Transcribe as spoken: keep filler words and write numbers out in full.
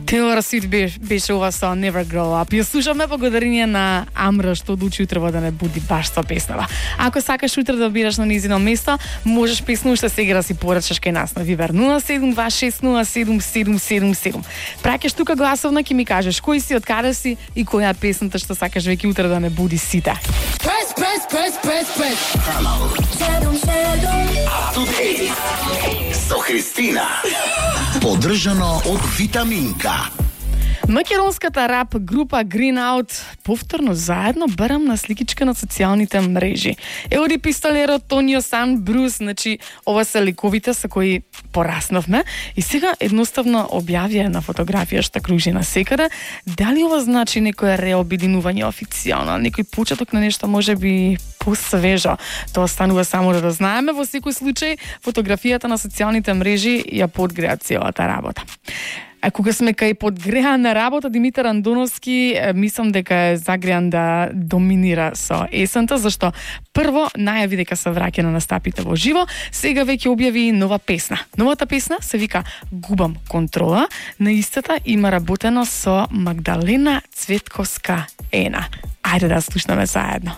Тейлор Свифт беше, беше ова со Never Grow Up. Ја слушаме благодарение на Амра што одлучи утрево да не буди баш со песнава. Ако сакаш утре да бираш на низино место, можеш песна уште сега да си порачаш кај нас на Вибер нула седум два шест нула седум седум седум седум. Праќаш тука гласовна ќе ми кажеш кој си, од каде си и која е песната што сакаш веќе утре да не буди сите. Press, press, press, press, press. Седум, седум. Up to date. Со Христина. Поддржано од Витаминка. Македонската рап група Green Out повторно заедно барам на сликичка на социјалните мрежи. Еоди Пистолеро, Тонио Сан, Брус, значи ова се ликовите со кои пораснавме и сега едноставно објавија на фотографија што кружи на секаде. Дали ова значи некој реобединување официјално, некој почеток на нешто можеби посвежо? Тоа станува само да знаеме. Во секој случај фотографијата на социјалните мрежи ја подгреа целата работа. А кога сме кај подгреана работа, Димитар Андоновски мислам дека е загреан да доминира со есента, зашто прво најави дека се враќа на настапите во живо, сега веќе објави нова песна. Новата песна се вика Губам контрола, на истата има работено со Магдалена Цветковска Ена. Ајде да слушнеме заедно.